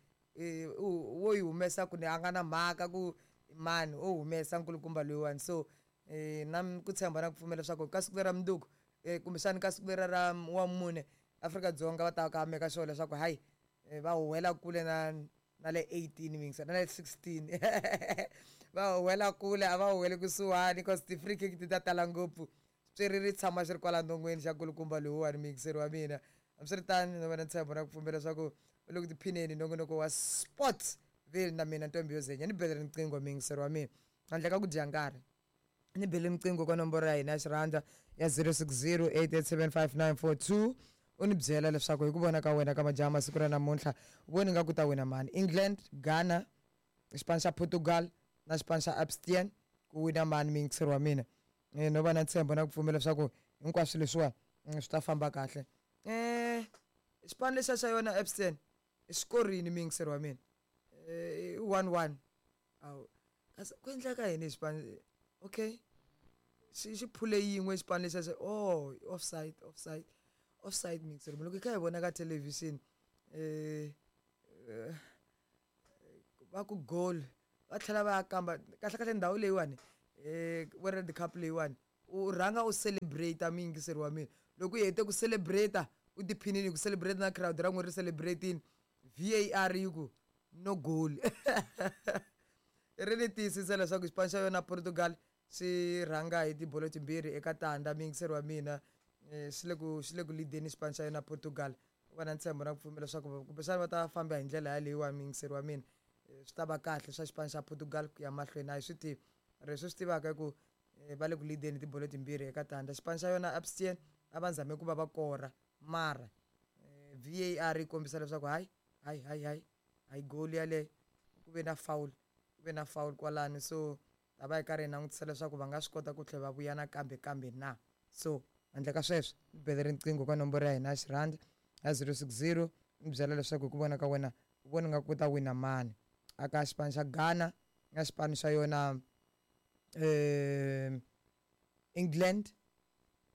wo yi humesa ku ni a nga na mhaka ku mani o humesa nkulukumba loyiwani. So na ku tshemba na ku pfumela leswaku ka siku leri ra mundzuku kumbexani ka siku leri ra wa mune Afrika-Dzonga va ta ka meka sure leswaku hayi va huhwela kule na na le eighteen muyingiseri na le sixteen va huhwela kule a va huhweli kusuhani cause ti-free kick ti ta tala ngopfu. Xitswiriri ri tshama xi ri kwala non'weni xa nkulukumba loyiwani muyingiseri wa mina. Hambiswiritano no va na ntshembo na ku pfumela leswaku u le ku tiphineni nongonoko wa Sportville na mina Ntombi yo Zenya. Ni bele riqingho muyingiseri wa mina handle ka ku dya nkarhi ni bele riqingho ka nomboro ya hina ya xirhandza ya zero six zero eight eight seven five nine four two u ni byela leswaku hi ku vona ka wena ka majaha masiku ra namuntlha voni nga ku ta wina mani England, Ghana, xipano xa Portugal na xipano xa Abstain ku wina mani muyingiseri wa mina. No va na ntshembo na ku pfumela leswaku hinkwaswo leswiwani swi ta famba kahle. Um xipano lexiya xa yona Abstain i xikorini muyingiseri wa mina i one one. Awu kasi ku endleka yini hi xipano okay xi xi phule yin'we xipano lexiya xa oh offside offside offside muyingiseri loko hi kha hi vona ka television um va ku goal Va tlhela va ya kamba kahle kahle ndhawu leyiwani um World Cup leyiwani u rhanga u celebrate muyingiseri wa mina. Loko u hete ku celebrate u tiphinini ku celebrate na crowd ra n'wina ri celebrate-ini, V A R yi ku no goal. Ri ni tiyisisa leswaku xipano xa yona Portugal xi rhanga hi tibolo timbirhi eka tandza muyingiseri wa mina. Xi le ku xi le ku lead-eni xipano xa yona Portugal. Va na ntshembo na ku pfumela leswaku kumbexana va ta famba hi ndlela yaleyiwani muyingiseri wa mina. Swi ta va kahle swa xipano xa Portugal ku ya mahlweni a hi swi tivi. Leswi swi tivaka i ku va le ku lead-eni tibolo timbirhi eka tandza. Xipano xa yona Abstain a va zame ku va va kora mara V A R yi kombisa leswaku hayi hayi hayi hayi hayi goal yaleyo ku ve na foul, ku ve na foul kwalano. So ta va hi karhi hi langutisa leswaku va nga swi kota ku tlhela va vuya nakambe kambe na. So handle ka sweswo ni bele riqingho ka nomboro ya hina ya xirhandi ya zero six zero ni byela leswaku hi ku vona ka wena u vona nga ku ta wina mani aka xipano xa Ghana na xipano xa yona um England,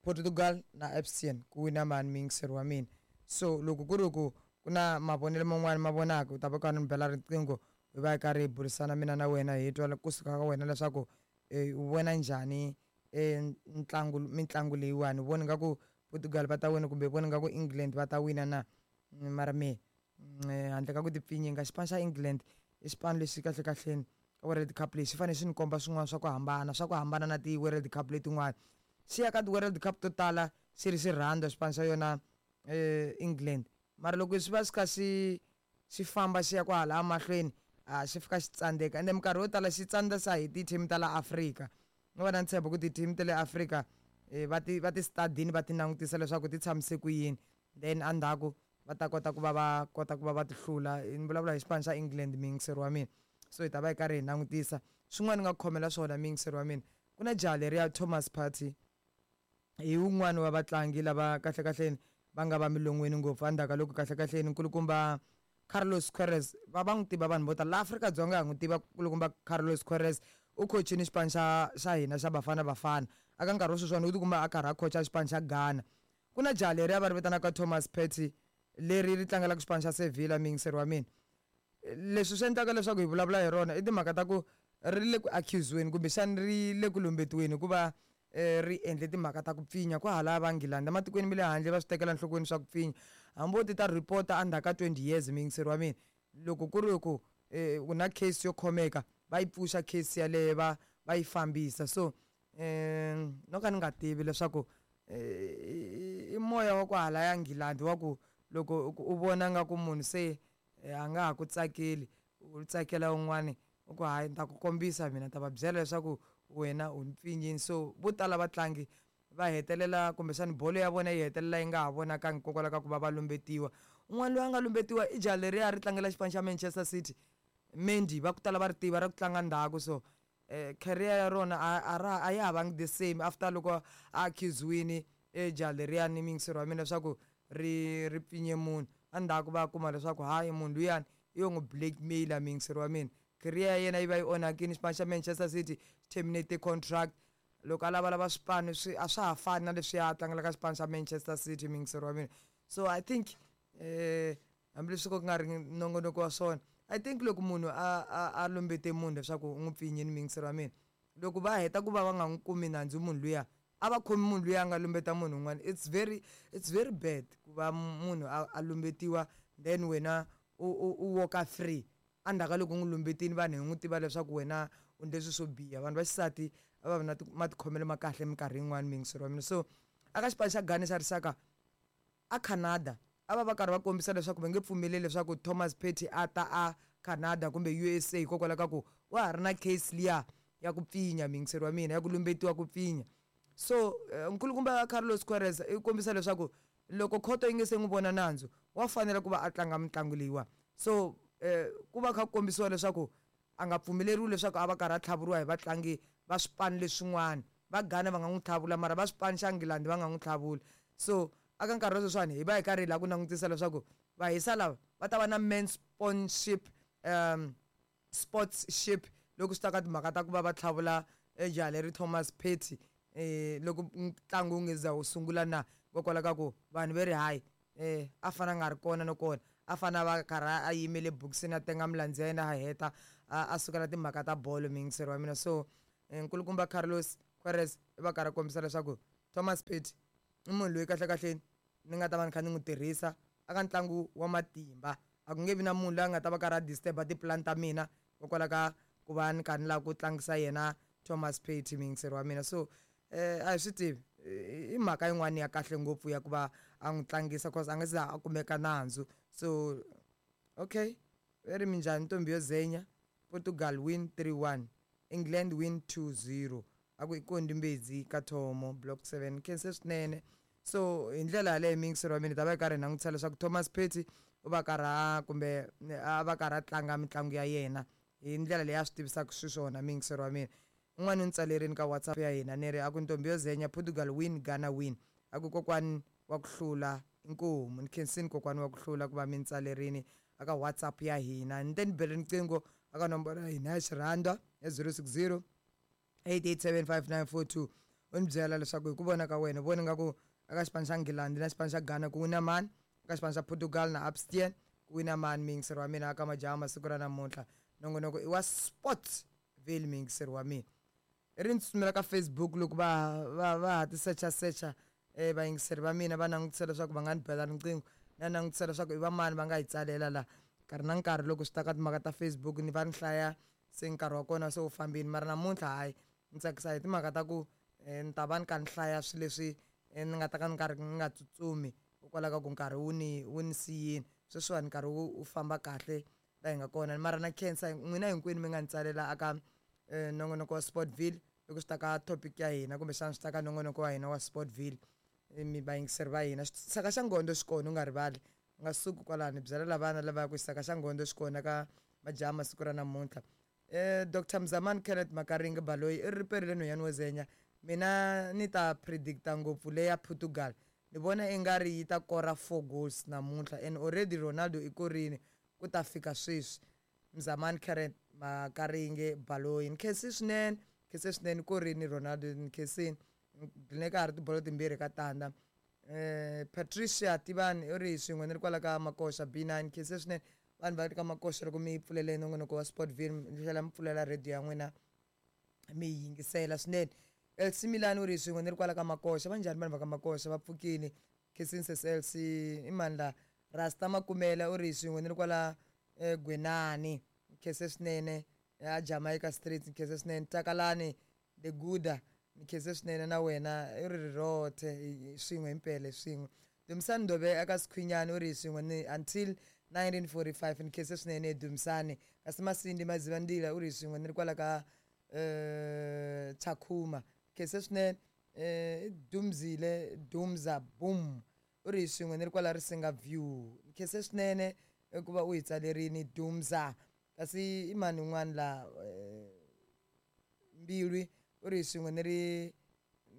Portugal na Abstain ku wina mani muyingiseri wa mina. So loko ku ri ku ku na mavonelo man'wani ma vonaka u ta va ka ni bela riqingho hi va hi karhi hi burisana mina na wena hi twa kusuka ka wena leswaku u vona njhani ntlangu mitlangu leyiwani. U vona nga ku Portugal va ta wina kumbe u vona nga ku England va ta wina na? Mara me handle ka ku tipfinyinga xipano xa England i xipano lexi kahle kahleni ka World Cup leyi xi fanele xi ni komba swin'wana swa ku hambana swa ku hambana na ti-World Cup letin'wana. Xi ya ka ti-World Cup to tala xi ri xi rhandza xipano xa yona England, mara loko swi va swi kha xi xi famba xi ya kwahala mahlweni a xi fika xi tsandzeka ende minkarhi yo tala xi tsandzisa hi ti-team ta la Afrika. Ni va na ntshembo ku ti-team ta le Afrika va ti va ti stadini va ti langutisa leswaku ti tshamise ku yini, then endzhaku va ta kota ku va va kota ku va va ti hlula. Ni vulavula hi xipano xa England muyingiseri wa mina. So hi ta va hi karhi hi langutisa swin'wana ni nga khomela swona muyingiseri wa mina. Ku na jaha leriya Thomas Partey hi wun'wani wa vatlangi lava kahle kahleni va nga va milon'weni ngopfu endzhaku ka loko kahle kahleni nkulukumba Carlos Queiroz va va n'wi tiva vanhu vo tala la Afrika-Dzonga ha n'wi tiva nkulukumba Carlos Queiroz u coachini xipano xa xa hina xa Bafana Bafana aka nkarhi wa sweswiwani u tikuma a karhi a coacha xipano xa Ghana. Ku na jaha leriya va ri vitanaka Thomas Partey leri ri tlangelaka xipano xa Sevilla muyingiseri wa mina. Leswi swi endlaka leswaku hi vulavula hi rona i timhaka ta ku ri le ku accuse-weni kumbexani ri le ku lumbetiweni hikuva ri endle timhaka ta ku pfinya kwahala va Nghilandhi ematikweni ma le handle va swi tekela enhlokweni swa ku pfinya. Hambi wo ti ta report-a endzhaku ka twenty years muyingiseri wa mina, loko ku ri ku ku na case yo khomeka va yi pfuxa case yaleyo va va yi fambisa. So um no ka ni nga tivi leswaku i moya wa kwahala ya Nghilandhi wa ku loko u vona nga ku munhu se a nga ha ku tsakeli u tsakela un'wani u ku hayi ni ta ku kombisa mina ni ta va byela leswaku wena u ni pfinyini. So vo tala vatlangi va hetelela kumbexani bolo ya vona yi hetelela yi nga ha vonakangi hikokwalaho ka ku va va lumbetiwa. Un'wana loyi a nga lumbetiwa i jaha leriya ri tlangela xipano xa Manchester City, Mendy, va ku tala va ri tiva ra ku tlanga ndzhaku. So um career ya rona a ra a ya ha vangi the same after loko a accuse-wini jaha leriyani muyingiseri wa mina leswaku ri ri pfinye munhu. Endzhaku va kuma leswaku hayi munhu luyani i yo n'wi blackmail-a muyingiseri wa mina. Career ya yena yi va yi onhakile. Xipano xa Manchester City terminate contract loko a lavalava swipano swi a swa ha fani na leswiya a tlangelaka xipano xa Manchester City muyingiseri wa mina. So I think um hambileswi ku nga ri nongonoko wa swona, I think loko munhu a a a lumbete munhu leswaku u n'wi pfinyini muyingiseri wa mina, loko va heta ku va va nga n'wi kumi nandzu munhu luya a va khomi munhu luya a nga lumbeta munhu un'wana. It's very it's very bad ku va munhu a a lumbetiwa then wena u u u walk-a free endzhaku ka loko u n'wi lumbetini vanhu hi n'wi tiva leswaku wena u endle swilo swo biha. Vanhu va xisati a va vi na matikhomelo ma kahle minkarhi yin'wani muyingiseri wa mina. So aka xipano xa Ghana xa rixaka a Canada a va va karhi va kombisa leswaku va nge pfumeleli leswaku Thomas Partey a ta a Canada kumbe U S A hikokwalaho ka ku wa ha ri na case liya ya ku pfinya muyingiseri wa mina ya ku lumbetiwa ku pfinya. So nkulukumba Carlos Queiroz i kombisa leswaku loko khoto yi nge se n'wi vona nandzu wa fanela ku va a tlanga mitlangu leyiwa. So ku va kha ku kombisiwa leswaku a nga pfumeleriwi leswaku a va karhi a tlhavuriwa hi vatlangi va swipano leswin'wana. Va Ghana va nga n'wi tlhavula mara va swipano xa Nghilandhi va nga n'wi tlhavuli. So aka nkarhi wa sweswiwani hi va hi karhi hi lava ku langutisa leswaku vahisa lava va ta va na men sponsorship um sportship loko swi ta ka timhaka ta ku va va tlhavula jaha leri Thomas Partey eh loko ntlangu wu nge za wu sungula na hikokwalaho ka ku vanhu va ri hayi eh a fana a nga ri kona no kona a fana a va karhi a yimele bokisini a tenga milandzu ya yena a heta a sukela timhaka ta bolo miyingiseri wa mina. So nkulukumba Carlos Queiroz i va karhi a kombisa leswaku Thomas Partey i munhu loyi kahlekahle ni nga ta va ni kha ni n'wi tirhisa aka ntlangu wa matimba. A ku nge vi na munhu loyi a nga ta va karhi a disturb-a tipulani ta mina hikokwalaho ka ku va ni karhi ni lava ku tlangisa yena Thomas Partey muyingiseri wa mina. So eh a hi swi tivi, i mhaka yin'wani ya kahle ngopfu ya ku va a n'wi tlangisa cause a nga se za a kumeka nandzu. So okay, va ri minjhani ntombi yo zenya, Portugal win three one, England win two zero. A ku i kondi mbedzi ka thomo block seven, khense swinene. So hi ndlela yaleyo muyingiseri wa mina hi ta va hi karhi hi langutisa leswaku Thomas Partey u va karhi a kumbe a va karhi a tlanga mitlangu ya yena hi ndlela leyi a swi tivisaka xiswona muyingiseri wa mina. Un'wana u ni tsalerini ka WhatsApp ya hina ni ri a ku ntombi yo zenya, Portugal win, Ghana win. A ku kokwani wa ku hlula inkomu. Ni khensini kokwani wa ku hlula ku va mi ni tsalerini aka WhatsApp ya hina. Ni te ni bele riqingho aka nomboro ya hina ya xirhandwa ya zero six zero eight eight seven five nine four two, u ni byela leswaku hi ku vona ka wena u vona nga ku aka xipano xa Nghilandhi na xipano xa Ghana ku wina mani, eka xipano xa Portugal na Abstain ku wina mani muyingiseri wa mina aka majaha masiku ra namuntlha. Nongonoko i wa Sportsville muyingiseri wa mina. I ri ni tsutsumela ka Facebook loko va va va ha ti secha secha eh vayingiseri va mina va langutisa leswaku va nga ni bela riqingho na langutisa leswaku i va mani va nga hi tsalela la nkarhi na nkarhi. Loko swi ta ka timhaka ta Facebook ni va ni hlaya se nkarhi wa kona se wu fambini, mara namuntlha hayi ni tsakisa hi timhaka ta ku ni ta va ni kha ni hlaya swilo leswi ni nga ta ka ni karhi ni nga tsutsumi hikwalaho ka ku nkarhi wu ni wu ni siyini. Sweswiwani nkarhi wu wu famba kahle la hi nga kona, mara na khensa n'wina hinkwenu mi nga ni tsalela aka nongonoko wa Sportville loko swi ta ka topic ya hina kumbexana swi ta ka nongonoko wa hina wa Sportville. Mi vayingiseri va hina, xisaka xa ngondo xi kona u nga rivali, u nga suki kwalano, byela lavana lava ku xisaka xa ngondo xi kona ka majaha masiku ra namuntlha. Eh Doctor Mzamani Kenneth Makaringi Baloyi i ri perile nhwanyana wo zenya, mina ni ta predicta ngopfu leya Portugal, ni vona i nga ri yi ta kora four goals namuntlha and already Ronaldo i korini ku ta fika sweswi. Mzamani Kenneth Makaringi Baloyi, ni khensi swinene, khense swinene korini Ronaldo, ni khensini gcine ka ha ri tibolo timbirhi ka tandza. Eh Patricia Tivani u ri swin'we ni ri kwala ka Makoxa B nine, khense swinene vanhu va ka Makoxa loko mi yi pfulele nongonoko wa Sportville, mi tlhela mi pfulela radio ya n'wina mi yi yingisela swinene. L C Milan u ri swin'we ni ri kwala ka Makoxa, va njhani vanhu va ka Makoxa, va pfukini, khensini sesi L C. I mani la Rasta Makumela u ri swin'we ni ri kwala Gwenani, khense swinene a Jamaica Street, khense swinene. Takalani the Guda, khense swinene na wena, i ri rirothe swin'we himpela swin'we. Dumisani Ndobe aka Sikhwinyani u ri swin'we ni until nineteen forty-five, ni khense swinene Dumisani. Kasi Masindi Mazivandila u ri swin'we ni ri kwala ka eh Tshakhuma, khense swinene. Eh Dumzile Dumza Boom u ri swin'we ni ri kwala Risinga View, khense swinene ku va u hi tsalerini Dumza. Kasi i mani un'wana la Mbilwi u ri swin'we ni ri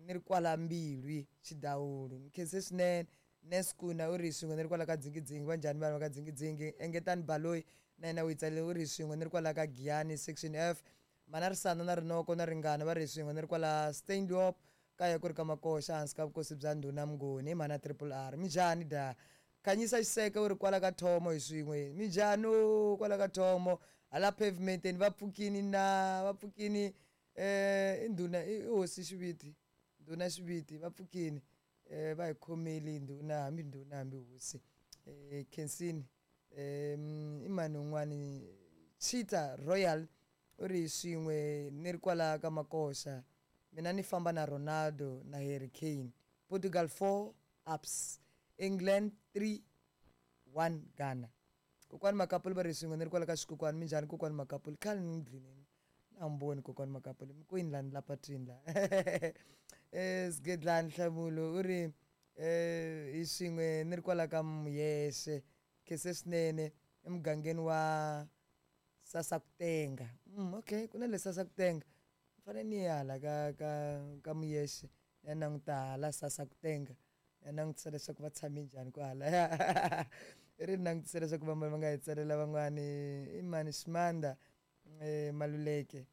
ni ri kwala Mbilwi Xidawulu, khense swinene. Neskuna u ri swin'we ni ri kwala ka Dzingidzingi, va njhani vanhu va ka Dzingidzingi. Engetani Baloyi na yena u hi tsalele u ri swin'we ni ri kwala ka Giyani section F. Mana Risana na Rinoko na Ringana va ri swin'we ni ri kwala Steinlop kaya ku ri ka Makoxa hansi ka vukosi bya Ndhuna Mnguni, mana Triple R. Minjhani da Khanyisa Xiseke u ri kwala ka Thomo hi swin'we, minjhani kwala ka Thomo hala pavementeni va pfukini na va pfukini eh i ndhuna i hosi Xiviti, ndhuna Xiviti va pfukini eh va hi khomeli ndhuna hambi ndhuna hambi hosi. Eh khensini eh i mani un'wani Cheetah Royal u ri swin'we ni ri kwala ka Makoxa, mina ni famba na Ronaldo na Harry Kane. Portugal four ups, England three one Ghana. Kokwani Makapuli va ri swin'we ni ri kwala ka Xikokwani, minjhani kokwani Makapuli, khale ni dlineni na mi voni kokwani Makapuli, mi kwini la ni la patwini la. Eh Sgedlani Nhlamulo u ri eh hi swin'we ni ri kwala ka Muyexe, khense swinene emugangeni wa Sasakutenga. Mm, okay, ku na le Sasakutenga, ni fanele ni ya hala ka ka ka Muyexe ni ya languta hala Sasakutenga, ni ya langutisa leswaku va tshame njhani kwahalaya. I ri ni langutisa leswaku va va nga hi tsalela van'wani i mani Ximanda eh Maluleke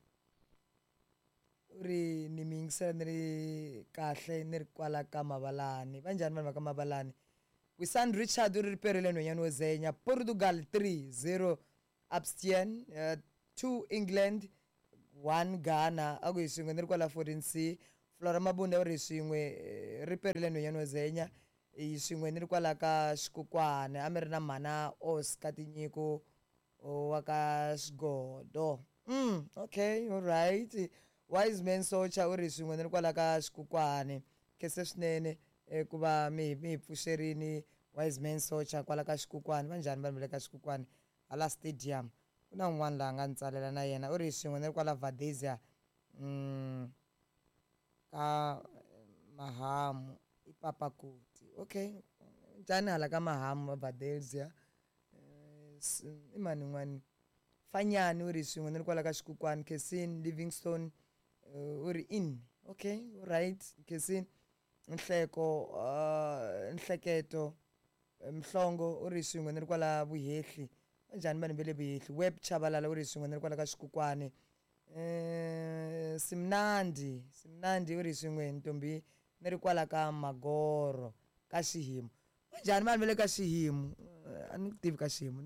u ri ni mi yingisela ni ri kahle ni ri kwala ka Mavalani, va njhani vanhu va ka Mavalani. Wisan Richard u ri riperile nhwanyana wo zenya, Portugal three zero Abstain uh, Two England, one Ghana. A ku hi swin'we ni ri kwala fourteen C. Flora Mabunda u ri swin'we ri perile nhwanyana wa Zenya. Hi swin'we ni ri kwala ka Xikukwana a mi ri na mhana Oscar Tinyiko wa ka Xigodo. Mm, okay, all right. Wise Man Socha u ri swin'we ni ri kwala ka Xikukwane. Khensa swinene ku va mi mi hi pfuxerini Wise Man Socha kwala ka Xikukwane. Va njhani vanhu va le ka Xikukwane hala stadium? Ku na un'wana laha nga ni tsalela na yena u ri swin'we ni ri kwala Valdezia mm, ka Mahamu i Papakuti. Okay, njhani hala ka Mahamu Valdezia? I mani un'wani? Fanyani u ri swin'we ni ri kwala ka Xikukwane. Kesin Livingstone u ri in. Okay, right. Kesin Nhleko uh, Nhleketo Mhlongo u ri swin'we ni ri kwala Vuhehli. Njhani vanhu va le Vuhehli? Web Chabalala u ri swin'we ni ri kwala ka Xikukwane. Eh, Simnandi Simnandi u ri swin'we ntombi ni ri kwala ka Magoro ka Xihimu. Njhani vanhu va le ka Xihimu? A ni ku tivi ka Xihimu,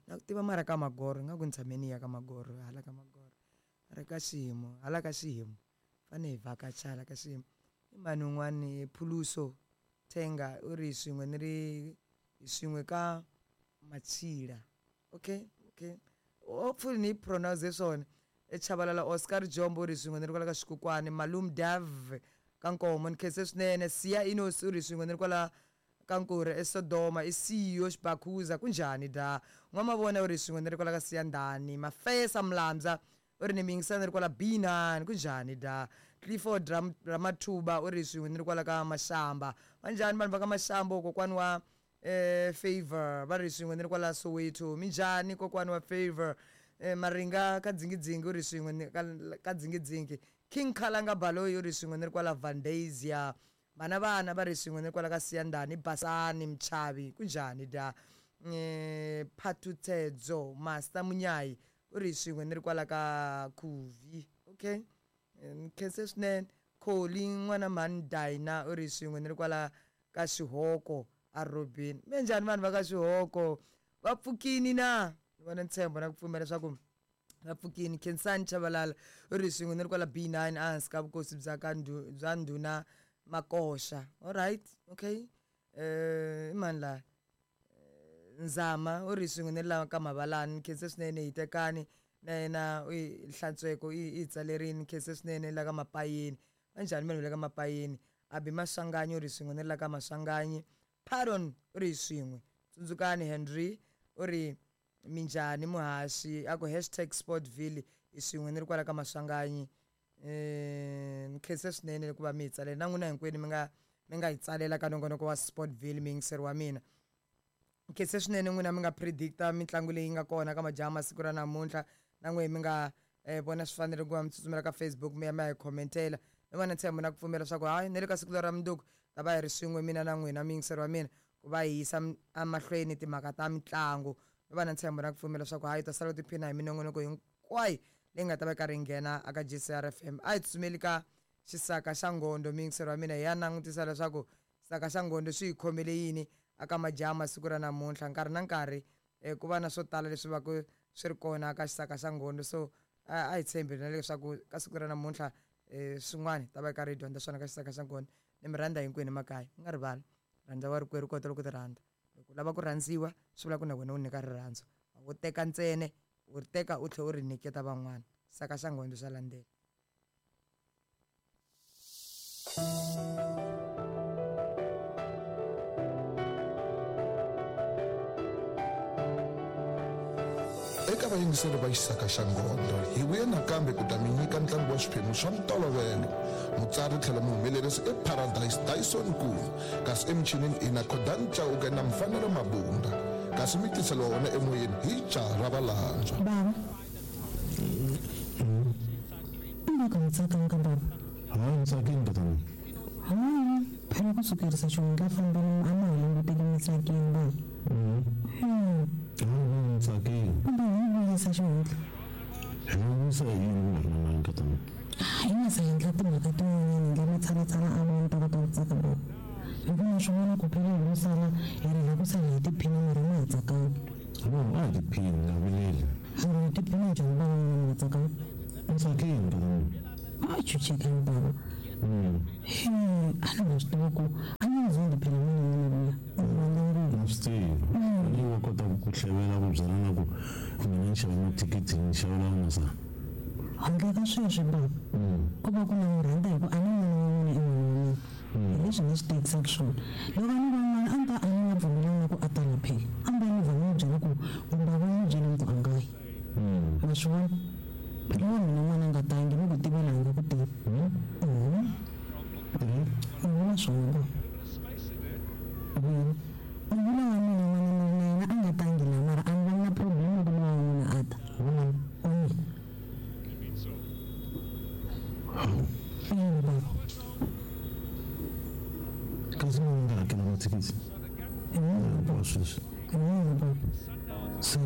na ku tiva mara ka Magoro, ingaku ni tshame ni ya ka Magoro, hala ka Magoro ri ka Xihimu, hala ka Xihimu fane hi vhakacha hala ka Xihimu. I mani un'wani? Phuluso Thenga u ri swin'we ni ri swin'we ka Machila. Okay, okay, hopefully ni pronounce swona. Chabalala Oscar Jombo u ri swin'we ni ri kwala ka Xikukwane. Malum Dav ka Nkomo ni khense swinene. Siya Inos u ri swin'we ni ri kwala ka Nkuri eSodoma. I C E O Xibakhuza kunjhani da? N'wamavona u ri swin'we ni ri kwala ka Siyandhani. Mafesa Mlamza u ri ni miyingisana ni ri kwala B nine kunjhani da? Clifford Ramathuba u ri swin'we ni ri kwala ka Mashamba. Vanjhani vanhu va ka Mashamba? Kokwani wa eh, Favor va ri swin'we ni ri kwala Soweto. Minjhani kokwani wa Favor? Eh, Maringa ka Dzingidzingi u ri swin'we ka Dzingidzingi. King Khalanga Baloyi u ri swin'we ni ri kwala Valdezia. Vana vana va ri swin'we ni ri kwala ka Siyandhani. Basani Mchavi kunjhani da? Eh, Phathutedzo Master Munyayi u ri swin'we ni ri kwala ka Khuvi. Okay, ni khense swinene. Kholi n'wana mhani Dina u ri swin'we ni ri kwala ka Xihoko a Robin. Mi njhani vanhu va ka Xihoko? Va pfukini na? Ni vona ntshembo na ku pfumela leswaku va pfukini. Khensani Chabalala u ri swin'we ni ri kwala B nine ehansi ka vukosi bya ka bya ndhuna Makoxa. All right, okay. Eh, i mani laha? Nzama u ri swin'we ni la ka Mavalani. Khense swinene. Hitekani na yena u hlantsweko i i tsalerini. Khense swinene la ka Mapayeni. Va njhani vanhu va le ka Mapayeni? Abi Maswanganyi u ri swin'we ni la ka Maswanganyi. Pardon u ri swin'we. Tsundzukani Henry u ri minjhani muhaxi a ku hashtag Sportville i swin'we ni ri kwala ka Maswanganyi. Eh, ni khense swinene ku va mi hi tsalela na n'wina hinkwenu mi nga mi nga hi tsalela ka nongonoko wa Sportville miyingiseri wa mina. Khense swinene n'wina mi nga predicta mitlangu leyi nga kona ka majaha masiku ra namuntlha, na n'we mi nga eh, vona swi fanele ku va mi tsutsumela ka Facebook mi ya mi ya hi commentela. Ni vona ntshembo na ku pfumela leswaku hayi ni le ka siku ra mundzuku ta va hi ri swin'we mina na n'wina miyingiseri wa mina ku va hi yisa emahlweni timhaka ta mitlangu. Ni va na ntshembo na ku pfumela leswaku hayi ta sala u tiphina hi minongonoko hinkwayo leyi nga ta va yi karhi yi nghena aka G C R F M. A hi tsutsumeli ka xisaka xa Ngondo miyingiseri wa mina hi ya langutisa leswaku xisaka xa Ngondo swi hi khomele yini aka majaha masiku ra namuntlha. Nkarhi na nkarhi eh, ku va na swo tala leswi va ku swi ri kona ka xisaka xa Ngondo, so a hi tshembi na leswaku ka siku ra namuntlha eh, swin'wana ta va yi karhi hi dyondza swona ka xisaka xa Ngondo. Ni mi rhandza hinkwenu emakaya, mi nga rivali rhandza wa rikwerhu kota loko ti rhandza. Loko u lava ku rhandziwa swi vula ku na wena u nyika rirhandzu, a wo teka ntsena u ri teka u tlhela u ri nyiketa van'wana. Xisaka xa Ngondo xa landzela. Eka vayingiseri va Xisaka xa Ngondo hi vuye nakambe ku ta mi nyika ntlangu wa swiphemu swa ntolovelo. Mutsari tlhela muhumelerisi i Paradise Dyson Nkulu, kasi emichinini i na Khodan Chauke na Mfanelo Mabunda, kasi mi tisela wona emoyeni hi jaha ra valandzwa. Baba, i nga tsakanga baba? Hayi, ni tsakile ntatana. Hayi, phela ku sukerisa xihundla fambeni a ma ha languteki mi tsakile baba. Hayi, ni tsakile. Kumbe hi vuyisa xihundla? Hi vuyisa hi yini ku nga ri na mali ntatana? Hi nga se endla timhaka tin'wanyana hi endla matshalatshala a vona ta kota ku tsaka baba. Hikuva swin'wana ku phela hi lo sala hi ri la ku sala hi tiphina mara ma ha tsakanga. No, a hi tiphini, nga vileli. Mara hi tiphina njhani van'wana a chuchekani baba he a ni nga swi tiva ku a ni zindi phela mina n'wana luya u rhandza ngopfu Na swi tivi. Ni wa kota ku ku hlevela ku byela na ku mina ni xava mathikithi ni xavela n'wana. Handle ka sweswo baba ko va ku na n'wi rhandza hi ku a ni n'wana wa n'wina i n'wana wa mina hi leswi ni swi tekisaka swona loko a ni va n'wana a ni ta a ni nga pfumelani na ku a tala phela a ni ta ni vha ni n'wi byela ku baba ni byele ni ku a nga yi ma swi vona phela wa mina n'wana a nga tangi ni ku tivela a nga ku tivi ni vula swona baba vini ni vula wa mina n'wana ni ri na yena a nga tangi laha mara a ni va na problem loko lowa wa n'wina a ta wa mina ina baba Kasi mina ni nga hakela mathikithi. hi n'wina Hinkwawo sweswi. hi n'wina baba Se